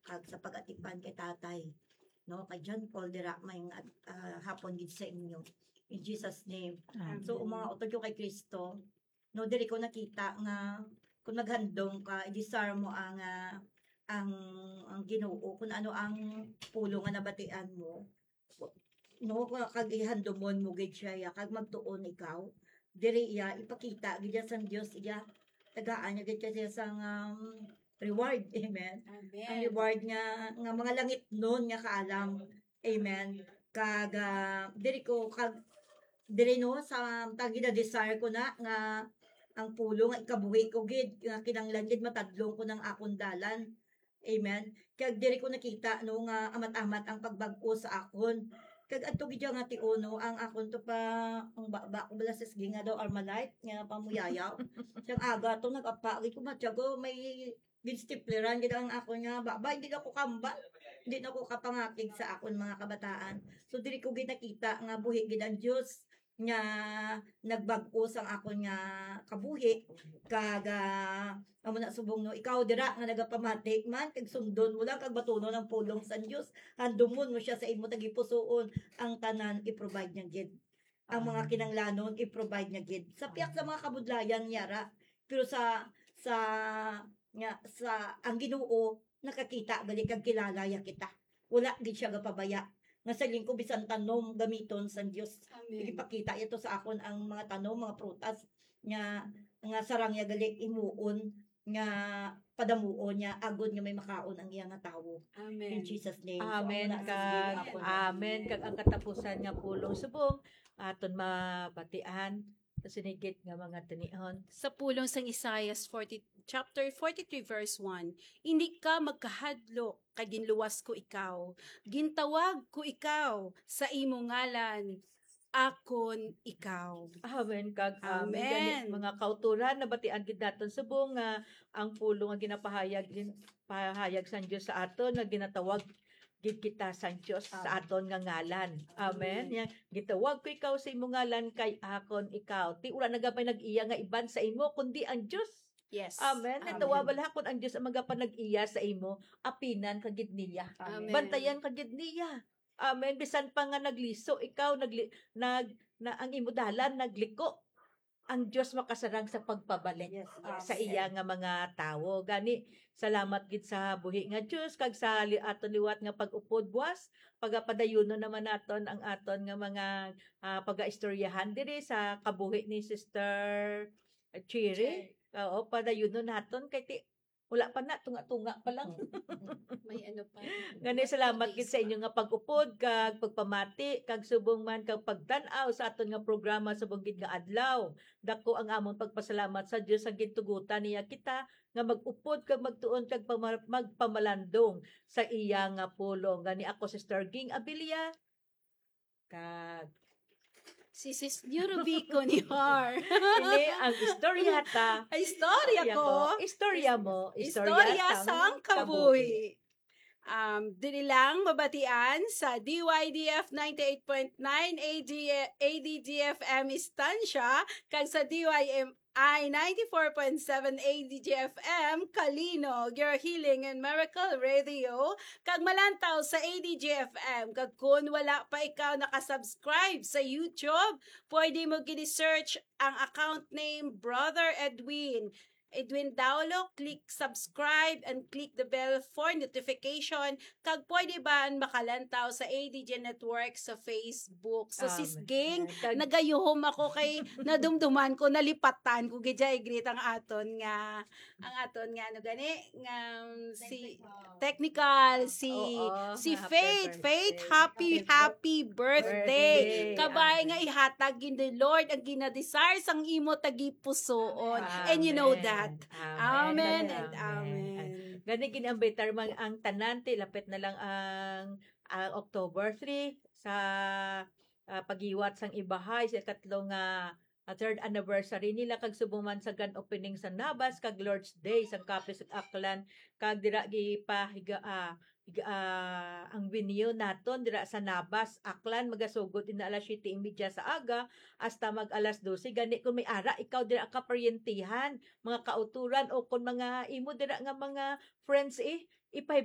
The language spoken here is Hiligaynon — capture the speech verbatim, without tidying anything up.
kag sa pag-atipan kay Tatay, no, kay John Paul dira, may nga, ah, hapon gid sa inyo. In Jesus' name. Amen. So, ang mga utod ko kay Kristo, no, diri ko nakita nga kung naghandom ka, i-desire mo ang, ah, ang, ang Ginoo, kung ano ang pulong nga nabatian mo, no, kag ihandumon mo gid siya, ya, kag magtuon ikaw. Diri iya ipakita gid iya sang Dios, iya tagaan niya gid siya sang, um, reward. Amen. Amen. Ang reward nga, nga mga langitnon nga kaalam. Amen. Kag, ah, diri ko, kag diri, no, sa tagi na desire ko na nga ang pulong nga ikabuhi ko gid, nga kinahanglan gid matadlong ko ng akon dalan. Amen. Kag diri ko nakita, no, nga amat-amat ang pagbag-o sa akon. Kag adto gid nga tion, no, ang akon to pa, ang baba ko bala sa sige nga daw Armalite nga pamuyayaw. Siyang aga to nag-apa gid ko, matyago, may ginstipleran gid ang akon nga baba, hindi na ko kambal, hindi na ko kapangakig sa akon mga kabataan. So diri ko gid nakita nga buhi gid ang Dios nga nagbag-o sang akon nga kabuhi, kag, ah, amo na subong, no, ikaw dira nga nagapamati man, kag sundon mo lang, kag batunon ang pulong sang Dios, handumon mo siya sa imo tagipusoon, ang tanan i-provide niya gid. Ang mga Amen. kinanglanon i-provide niya gid. Sa piyak sa Amen. mga kabudlayan niya ra, pero sa, sa, nga, sa ang Ginoo nakakita gali kag kilala ya kita. Wala gid siya gapabaya. Nga sa lingko bisan tanom gamiton sang Dios. Amen. Ipakita ito sa akon ang mga tanom, mga prutas nga, nga sarang ya gali imuon nga padamuon niya agod nga may makaon ang iya nga tawo. Amen. In Jesus' name. So, Amen amo na, kag, sige, amen. Kag ang katapusan nga pulong subong aton mabatian sa sinigit nga mga tinion. Sa pulong sang Isaiah forty, chapter forty-three, verse one, "Indi ka magkahadlok, kay ginluwas ko ikaw. Gintawag ko ikaw sa imo ngalan, akon ikaw." Amen kag amen. Amen. Gani, mga kauturan, nabatian gid naton subong nga ang pulong nga ginapahayag, gin-, pahayag sang Dios sa aton nga ginatawag gid kita sang Dios sa Amen. aton nga ngalan. Amen. Amen. Yan, gitawag ko ikaw sa imo ngalan kay akon ikaw. Ti wala na gamay nag-iya nga iban sa imo kundi ang Dios. Yes. Amen. Amen. Natawa bala kon ang Dios ang magapanag-iya sa imo, apinan ka gid niya. Amen. Bantayan ka gid niya. Amen. Bisan pa nga nagliso ikaw, nagli-, nag-, na ang imo dalan nagliko, ang Dios makasarang sa pagpabalik Yes, yes. sa iya nga mga tawo. Gani, salamat gid sa buhi nga Dios kag sa li-, aton liwat nga pag-upod buwas. Pagapadayunon naman naton ang aton nga mga, ah, pagaistoryahan diri sa kabuhi ni Sister Cherry. Cherry. Oo, padayunon naton kay ti-, wala pa na, tunga-tunga pa lang. May ano pa. Gani, salamat gid sa inyo nga pag-upod kag pagpamati kag subong man kag pagtan-aw sa aton nga programa subong gid nga adlaw. Dako ang amon pagpasalamat sa Dios sa gintugutan niya kita nga mag-upod kag magtuon kag pama-, magpamalandong sa iya nga pulong. Gani ako, Sister Ging Abilia. Kag si Sis New Rubico ni Har. Ini ang istorya ta. Ay, istorya Istorya ko. ko. Istorya mo. Istorya Istorya sang sang kabuhi. kabuhi. Um, dili lang mabatian sa D Y D F ninety-eight point nine A D, A D G F M Estancia, kag sa D Y M I ninety-four point seven A D G F M, Kalino, Your Healing and Miracle Radio, kag malantaw sa A D G F M. Kag kun wala pa ikaw nakasubscribe sa YouTube, pwede mo gini-search ang account name Brother Edwin. Edwin Daulo, click subscribe and click the bell for notification. Kag pwede ba makalantaw sa A D G Network sa Facebook? So, Sis Amen. Ging, Kag- nagayuhom ako kay nadumduman ko, nalipatan ko gid siya i-greet ang aton nga, ang aton nga, ano gani, nga, um, si Technical. technical, si, Oo, si nga happy Faith. Faith, birthday. happy, Happy happy birthday. Birthday. Kabay Amen. nga ihatag gid ni Lord ang ginadesire sang imo tagipusoon. Amen. And you know Amen. that. Amen. Amen and Amen. amen. Gani, gin-ambitar man ang tanan, ti lapit na lang ang, ang October three sa, ah, paghiwat sang ibahay sa ikatlo nga, ah, third anniversary nila, kag subong man sa grand opening sa Nabas kag Lord's Day sang Cafe sa Aklan, kag dira gipahiga, ah, higa-, ah, ang venue naton dira sa Nabas, Aklan, magasugod ina alas siyete y media sa aga hasta mag alas dose. Gani, kung may ara ikaw dira, kaparyentihan, mga kauturan, o kung mga imo dira nga mga friends, eh, ipahi-,